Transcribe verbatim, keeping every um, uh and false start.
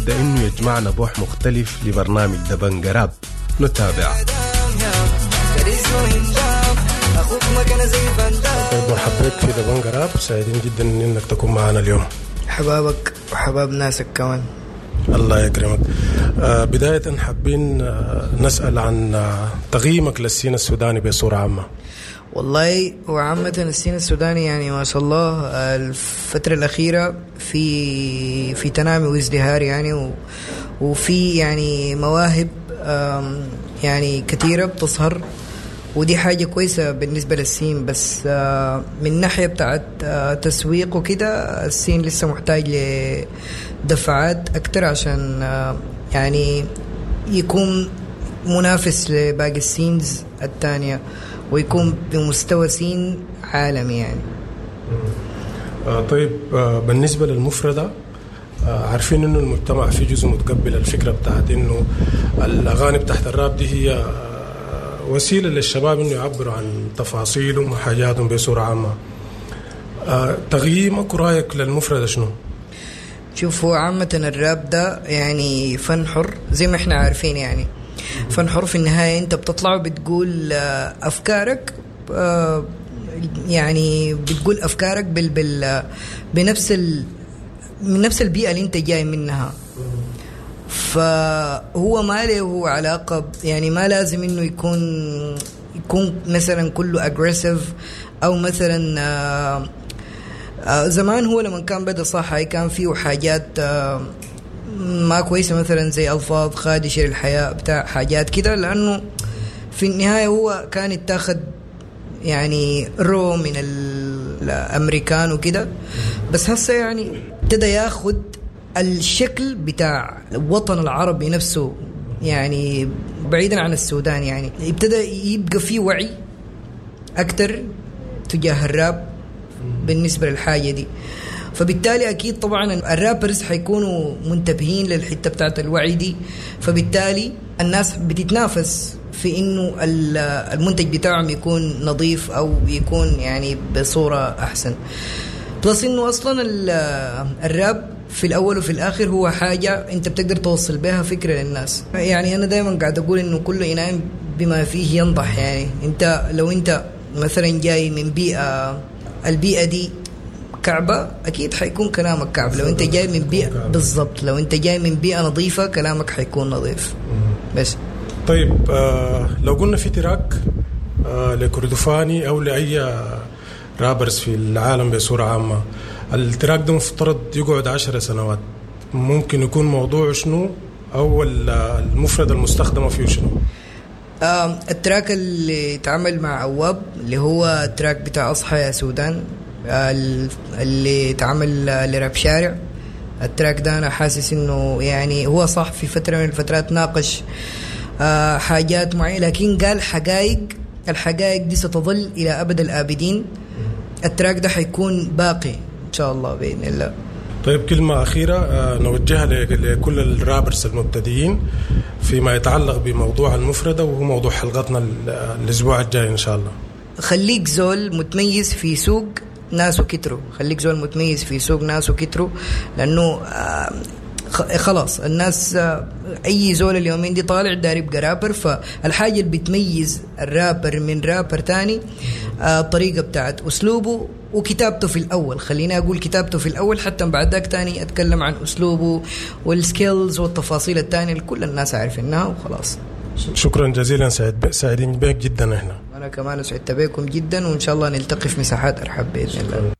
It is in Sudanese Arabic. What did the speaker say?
لابد انه يجمعنا بوح مختلف لبرنامج دبنجة راب. نتابع. طيب مرحبا بك في دبنجة راب، سعيدين جدا انك تكون معنا اليوم. حبابك وحباب ناسك كمان. الله يكرمك. آه بداية حابين آه نسأل عن آه تقييمك لل scene السوداني بصورة عامة. والله وعامة ال scene السوداني يعني ما شاء الله الفترة الأخيرة في في تنامي وازدهار يعني، و وفي يعني مواهب يعني كثيرة بتظهر، ودي حاجة كويسة بالنسبة لل scene. بس من ناحية بتاعت تسويق وكده ال scene لسه محتاج لدفعات أكتر عشان يعني يكون منافس لباقي ال scenes الثانية ويكون بمستوى scene عالمي يعني. آه طيب آه بالنسبة للمفردة، آه عارفين إنه المجتمع في جزء متقبل الفكرة بتاعت إنه الأغاني بتاعت الراب دي هي آه وسيلة للشباب إنه يعبروا عن تفاصيلهم وحاجاتهم بصورة عامة. آه تقييمك ورأيك للمفردة شنو؟ شوف، هو عامة الراب ده يعني فن حر زي ما احنا عارفين، يعني فن حر في النهاية انت بتطلع وبتقول أفكارك، يعني بتقول أفكارك بال بال بنفس ال من نفس البيئة اللي انت جاي منها. فهو ما له علاقة، يعني ما لازم انه يكون يكون مثلا كله aggressive او مثلا آه آه زمان هو لما كان بدأ صح كان فيه حاجات آه ما كويسة، مثلا زي ألفاظ خادشة للحياة بتاع حاجات كده، لأنه في النهاية هو كان يتاخد يعني رو من الأمريكان وكده. بس هسه يعني ابتدى ياخد الشكل بتاع الوطن العربي نفسه، يعني بعيدا عن السودان، يعني ابتدى يبقى فيه وعي أكتر تجاه الراب بالنسبة للحاجة دي. فبالتالي أكيد طبعا الرابرز حيكونوا منتبهين للحتة بتاعت الوعي دي، فبالتالي الناس بتتنافس في إنه المنتج بتاعهم يكون نظيف أو يكون يعني بصورة أحسن. plus إنه أصلا الراب في الأول وفي الآخر هو حاجة أنت بتقدر توصل بها فكرة للناس. يعني أنا دايما قاعد أقول إنه كل إناء بما فيه ينضح. يعني أنت لو أنت مثلا جاي من بيئة، البيئة دي كعبة، أكيد حيكون كلامك كعب. لو أنت جاي من بيئة بالضبط، لو أنت جاي من بيئة نظيفة كلامك حيكون نظيف. بس طيب آه لو قلنا في track آه لكردفاني أو لأي rappers في العالم بصورة عامة، ال track ده مفترض يقعد عشر سنوات، ممكن يكون موضوع شنو أو المفردة المستخدمة فيه شنو؟ آه ال track اللي اتعمل مع أواب اللي هو ال track بتاع أصحى يا سودان اللي اتعمل لراب شارع، ال track ده أنا حاسس إنه يعني هو صح في فترة من الفترات ناقش آه حاجات معينة، لكن قال حقائق، الحقائق دي ستظل إلى أبد الآبدين. ال track ده حيكون باقي إن شاء الله بإذن الله. طيب كلمة أخيرة نوجهها لكل ال rappers المبتدئين فيما يتعلق بموضوع المفردة، وهو موضوع حلقتنا الأسبوع الجاي إن شاء الله. خليك زول متميز في سوق ناس وكتروا، خليك زول متميز في سوق ناس وكتروا، لأنه خلاص الناس أي زول اليومين دي طالع داري يبقى رابر. فالحاجة اللي بتميز الرابر من رابر تاني الطريقة بتاعت أسلوبه وكتابته في الأول. خليني أقول كتابته في الأول، حتى بعد ذاك تاني أتكلم عن أسلوبه وال skills والتفاصيل التانية اللي كل الناس عارفينها وخلاص. شكرا جزيلا، سعيد سعيدين بك جدا. احنا أنا كمان سعدت بكم جدا، وإن شاء الله نلتقي في مساحات أرحب بإذن الله.